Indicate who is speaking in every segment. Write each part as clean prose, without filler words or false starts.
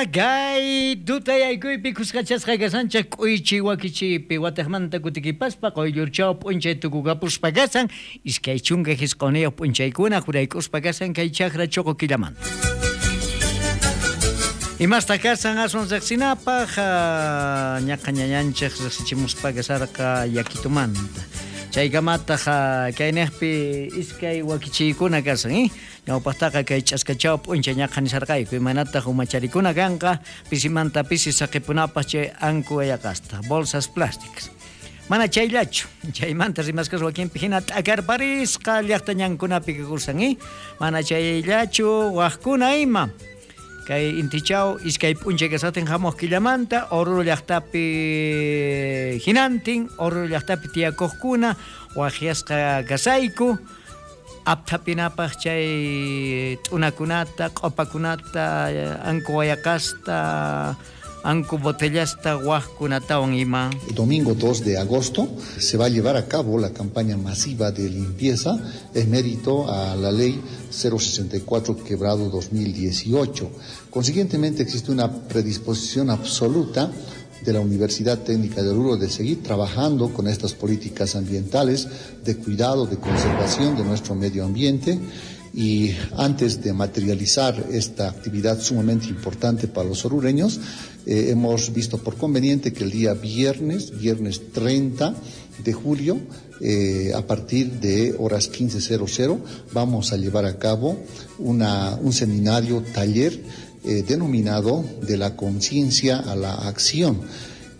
Speaker 1: Kay tutayaykuypi khuskachasqa kashanchej k'uychi wakichiypi watejmanta kutikipaspa qoyllurchaw p'unchay tukukapuspa kasan 29 p'unchaykuna jurayk'uspa kasan kay chakra choqo killamanta. Imasta kasan aswan riqsinapaq ñaqa ñañanchej riqsichimuspa kasarqa yakitumanta. Chaykamataq kayniqpi iskay wakichiykuna kasan, Ñawpaqtaqa kay ch'askachaw p'unchay ñaqa nisarqayku imaynataq umacharikuna kanqa pisimanta pisi saqipunapaq chay anku wayaqasta, bolsas plásticas. Mana chayllachu, chaymanta rimasqas wakinpi hina t'akarparisqa llaqta ñankunapi kakusan, Mana chayllachu waqkuna ima. Kay intichaw iskay p'unchay kasaqtin hamuq killamanta Oruro llaqtapi hinantin Oruro llaqtapi tiyakuqkuna waqyasqa kasayku apthapinapaq chay t'unakunata, q'opakunata, anku wayaqasta, anku botellasta waqkunatawan ima.
Speaker 2: El domingo 2 de agosto se va a llevar a cabo la campaña masiva de limpieza en mérito a la ley 064 quebrado 2018. Consiguientemente existe una predisposición absoluta de la Universidad Técnica de Oruro de seguir trabajando con estas políticas ambientales de cuidado, de conservación de nuestro medio ambiente. Y antes de materializar esta actividad sumamente importante para los orureños, hemos visto por conveniente que el día viernes 30 de julio, a partir de horas 15:00, vamos a llevar a cabo un seminario taller denominado De la conciencia a la acción.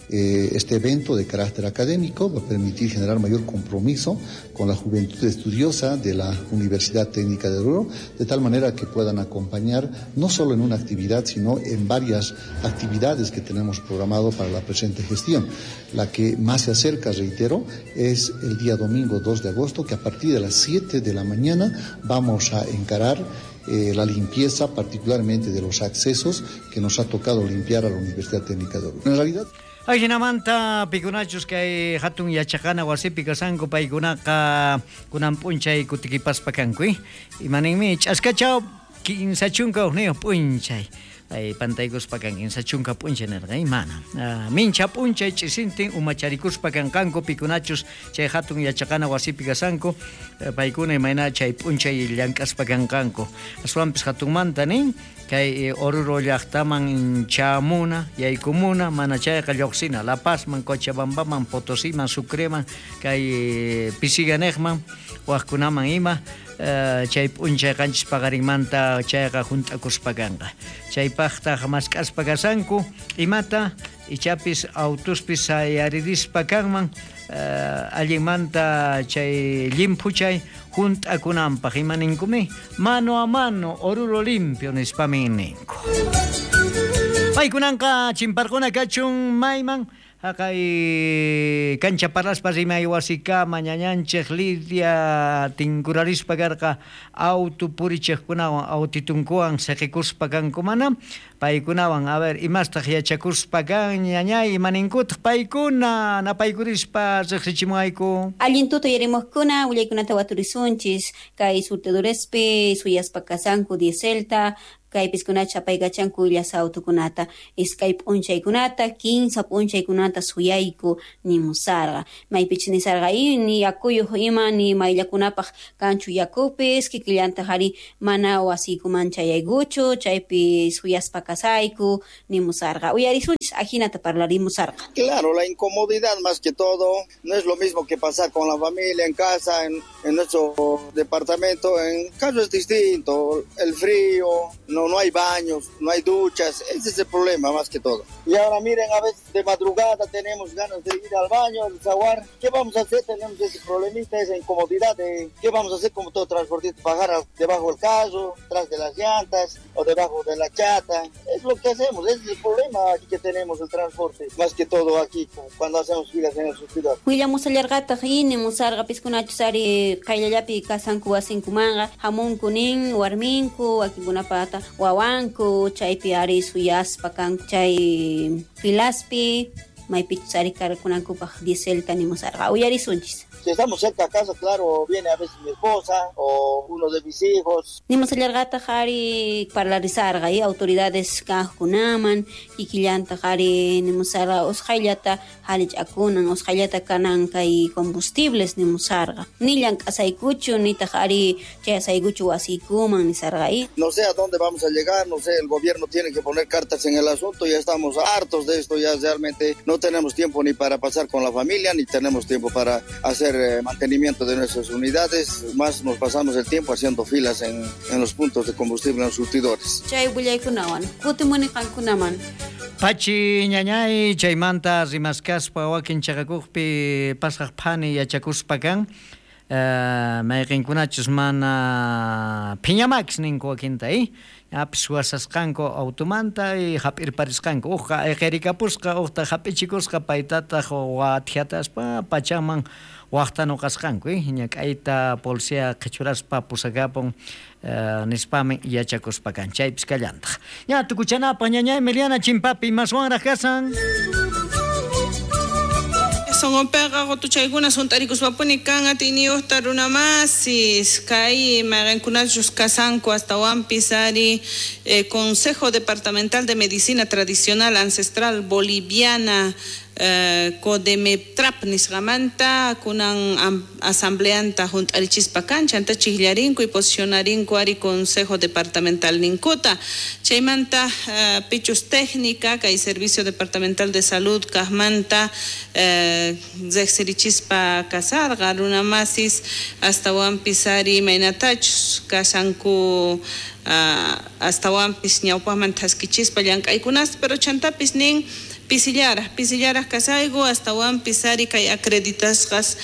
Speaker 2: Este evento de carácter académico va a permitir generar mayor compromiso con la juventud estudiosa de la Universidad Técnica de Oruro, de tal manera que puedan acompañar no solo en una actividad, sino en varias actividades que tenemos programado para la presente gestión. La que más se acerca, reitero, es el día domingo 2 de agosto, que a partir de las 7 de la mañana vamos a encarar la limpieza, particularmente de los accesos que nos ha tocado limpiar a la Universidad Técnica de Oruro. En realidad,
Speaker 1: Ajinamanta pikunachus kay hatun yachaqana wasipi kasanku paykunaqa kunan p'unchay kutikipaspa kanku, Imaninmi ch'askachaw 31 p'unchay. Ay pantaykuspa kan 30 p'unchay nirqa, mana. Mincha p'unchay ch'isintin umacharikuspa kanqanku pikunachus chay hatun yachaqana wasipi kasanku paykuna imayna chay p'unchay llank'aspa kanqanku. Aswanpis hatunmanta nin kay Oruro llaqtaman chamuna, yaykumuna, mana chayqa lluqsina La Pazman, Cochabambaman, Potosiman, Sucreman, kay Pisiganejman, waqkunaman ima chay p'unchay qanchis paqarinmanta chayqa hunt'akuspa kanqa. Chaypaqtaq mask'aspa kasanku imata ichapis autuspis sayaririspa kanman allinmanta chay llimphuchay hunt'akunanpaq imaninkumi mano a mano Oruro limpio nispamin ninku. Paykunanqa chimparquna kachun mayman haqay kancha parlaspa rimay wasikama ñañanchej Lidia tinkurarispa karqa auto purichejkunawan autitunkuwan siqikuspa kanku mana paykunawan a ver imastaq yachakuspa kan ñañay imaninkutaq paykuna napaykurispa riqsichimuayku.
Speaker 3: Allin tuta yarimuqkuna willaykunata waturisunchis kay surtidurespi suyaspa kasanku dieselta kaypiskunacha apaykachanku illasa autukunata iskay p'unchaykunata 15 p'unchaykunata suyayku nimusarqa maypichus nisarqa ni yakuyuq ima ni mayllakunapaq kanchu yakupis kikillantaq ari mana wasiykuman chayaykuchu chaypi suyaspa kasayku nimusarqa uyarisunchis ajinata parlarimusarqa.
Speaker 4: Claro, la incomodidad más que todo, no es lo mismo que pasar con la familia en casa, en nuestro departamento, en caso es distinto, el frío, no hay baños, no hay duchas, ese es el problema más que todo. Y ahora miren, a veces de madrugada tenemos ganas de ir al baño, al desaguar, ¿qué vamos a hacer? Tenemos ese problemita, esa incomodidad de qué vamos a hacer como todo transportista, bajar debajo del carro, tras de las llantas o debajo de la chata, es lo que hacemos, ese es el problema aquí que tenemos el transporte, más que todo aquí cuando hacemos filas en el surtidor.
Speaker 3: Willamusallarqataq inimusarqa piskunachus ari qayllallapi kasanku wasinkumanqa hamunku nin warminku wakinkunapata wawanku chaypi ari suyaspa kanku chay filaspi. Maypichus ari cargakunankupaq dieselta nimusarqa. Uyarisunchis.
Speaker 4: Si estamos cerca a casa, claro, viene a veces mi esposa o uno de mis hijos.
Speaker 3: Nimusallarqataq ari parlarisarqa autoridades kaqkunaman, kikillantaq ari nimusarqa usqhayllata halich'akunan, usqhayllata kanan kay combustibles nimusarqa. Ni llank'asaykuchu, nitaq ari chayasaykuchu wasiykuman nisarqa.
Speaker 4: No sé a dónde vamos a llegar, no sé, el gobierno tiene que poner cartas en el asunto, ya estamos hartos de esto, ya realmente no tenemos tiempo ni para pasar con la familia, ni tenemos tiempo para hacer mantenimiento de nuestras unidades, más nos pasamos el tiempo haciendo filas en los puntos de combustible en los surtidores.
Speaker 3: Chay willaykunawan, kutimuni qankunaman.
Speaker 1: Pachi ñañay chaymanta rimaskaspa wakin chaqakuqpi pasaq phani yachakuspa kan mayqinkunachus mana phiñamax ninku wakinta apis wasasqanku automanta y hap'irparisqanku uqqa ayqirikapusqa uqta hap'ichikusqa paytataq wathiataspa pachaman waqtanuqasqanku ñak'ayta policía qhichuraspa pusakapun nispami yachakuspa kan chaypis kallantaq. Ña tukuchanapaq ñañay Emiliana Chimpapi maswanraq kasan.
Speaker 5: Songonpeqa qutuchaykuna sunt'arikuspapuni kan atiyniyuqta runamasis kay mayqinkunachus kasanku astawanpis ari Consejo Departamental de Medicina Tradicional Ancestral Boliviana Codemeptrap nisqamanta kunan asambleanta junt'arichispa kan chanta chijllarinku y posicionarinku ari Consejo Departamental ninkuta chaymanta pichus técnica kay Servicio Departamental de Salud kajmanta riqsirichispa kasarqa runamasis astawanpis ari imaynatachus kasanku astawanpis ñawpaqman thaskichispa llank'aykunasta pero chantapis nin pisillaraj kasayku astawanpis ari kay acreditasqas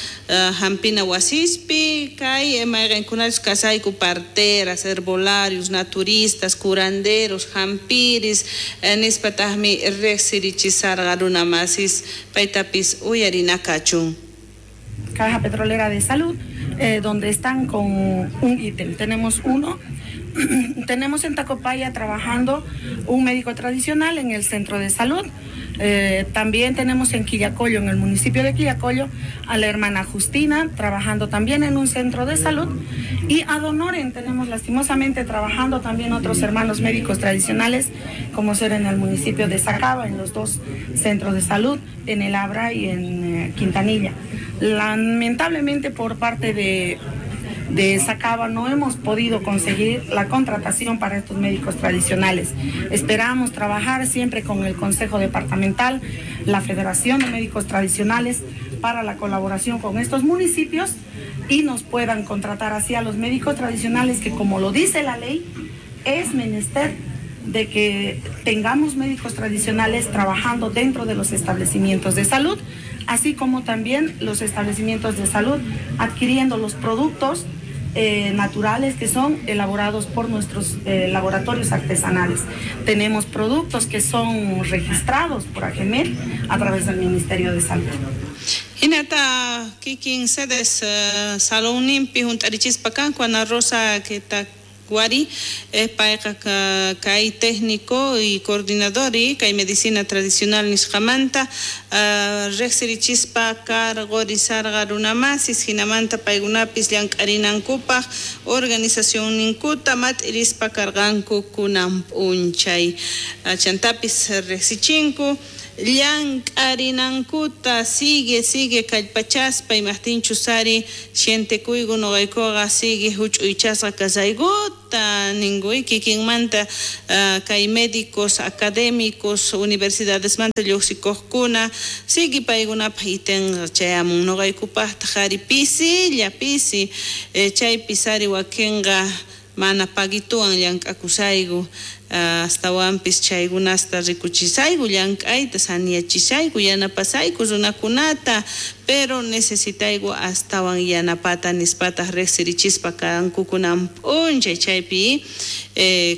Speaker 5: hampina wasispi kay mayqinkunachus kasayku parteras, herbolarios, naturistas, curanderos, hampiris nispataqmi riqsirichisarqa runamasis paytapis uyarinakachun.
Speaker 6: Caja Petrolera de Salud, donde están con un ítem. Tenemos uno. Tenemos en Tacopaya trabajando un médico tradicional en el centro de salud. También tenemos en Quillacollo, en el municipio de Quillacollo, a la hermana Justina trabajando también en un centro de salud. Y a Donoren tenemos lastimosamente trabajando también otros hermanos médicos tradicionales, como ser en el municipio de Sacaba, en los dos centros de salud, en El Abra y en Quintanilla. Lamentablemente por parte de Sacaba no hemos podido conseguir la contratación para estos médicos tradicionales. Esperamos trabajar siempre con el Consejo Departamental, la Federación de Médicos Tradicionales, para la colaboración con estos municipios y nos puedan contratar así a los médicos tradicionales que, como lo dice la ley, es menester de que tengamos médicos tradicionales trabajando dentro de los establecimientos de salud, así como también los establecimientos de salud adquiriendo los productos naturales que son elaborados por nuestros laboratorios artesanales. Tenemos productos que son registrados por AGEMED a través del Ministerio de Salud.
Speaker 5: Hinata kikin sedes salonninpi hunt'arichispa kanku Ana Rosa Wari, payqa kay técnico y coordinador y kay medicina tradicional nisqamanta riqsirichispa cargorisarqa runamasis hinamanta paykunapis llank'arinankupaq organización ninkuta mat'irispa karqanku kunan p'unchay chantapis riqsichinku llank'arinankuta sigue kallpachaspa imaqtinchus ari sientekuyku nuqaykuqa sigue huch'uychasqa kasaykuta ninkuy kikinmanta kay médicos académicos universidadesmanta lluqsikuqkuna sigue paykunapaq itenqa chayamun nuqaykupaqtaq ari pisilla pisi chaypis ari wakinqa mana paguituwan llank'akusayku astawanpis chaykunasta rikuchisayku llank'ayta saniyachisayku yanapasayku runakunata Pero necesitayku astawan yanapata nispataq riqsirichispa kanku kunan p'unchay chaypi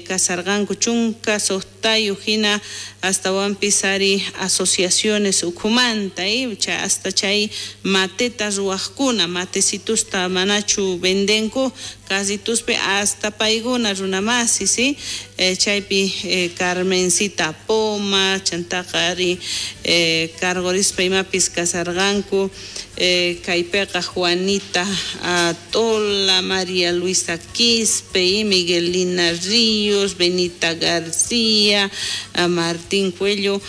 Speaker 5: kasarqanku 16 hina astawanpis ari asociaciones ukhumanta hasta chay mateta ruwaqkuna matecitusta manachu vendenku casituspi hasta paykuna runamasi ¿sí? Chaypi Carmencita Poma chantaqa ari cargorispa imapis kasarqanku kaypiqa Juanita Tola, María Luisa Quispe, Miguelina Ríos, Benita García, Martín Cuello,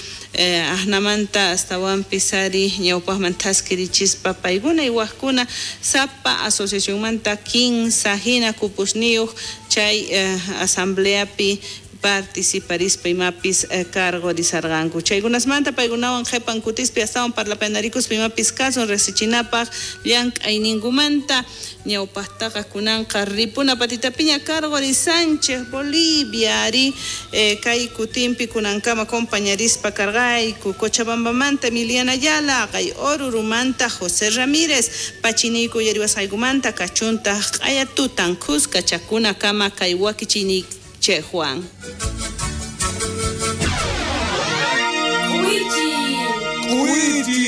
Speaker 5: ajnamanta astawanpis ari ñawpaqman thaskirichispa paykuna y wajkuna sapa asociacionmanta 15 hina kupusniyuq chay asambleapi participarispa imapis cargorizarqanku. Chaykunasmanta paykunawan qhipan kutispi astawan parlapanarikuspa imapis kasun riqsichinapaq llank'ayninkumanta ñawpaqtaqa kunanqa ripuna patitapiña cargorizanchej Bolivia ari kay kutinpi kunankama compañarispa karqayku Cochabambamanta Emiliana Ayala, kay Orurumanta José Ramírez, pachiniyku yariwasqaykumanta kachuntaq q'ayatutan khuska chakunakama kay wakichini Che Juan.
Speaker 7: Uichi. Uichi.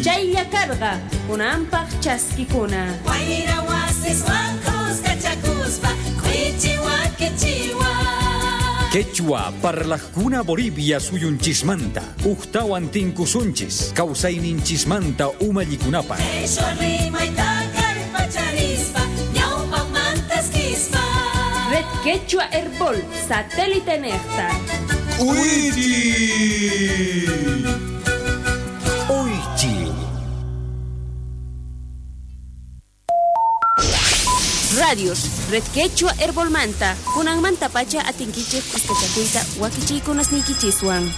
Speaker 7: Chaylla karqa kunanpaq chaskikuna.
Speaker 8: Wayra wasiswan khuskachakuspa k'uichi wakichiwa.
Speaker 9: Quechua parlajkuna Bolivia suyunchismanta ujtawan tinkusunchis kawsayninchismanta umallikunapaq.
Speaker 8: Qhishwa rimayta kallpacharispa ñawpaqmantas kispa.
Speaker 7: Red Quechua Herbol, satélite nefta.
Speaker 9: ¡Uichi! ¡Uichi!
Speaker 7: Radios, Red Quechua Herbol Manta, kunanmanta pacha atinkichej kuskachakuyta wakichiykunasniykichiswan.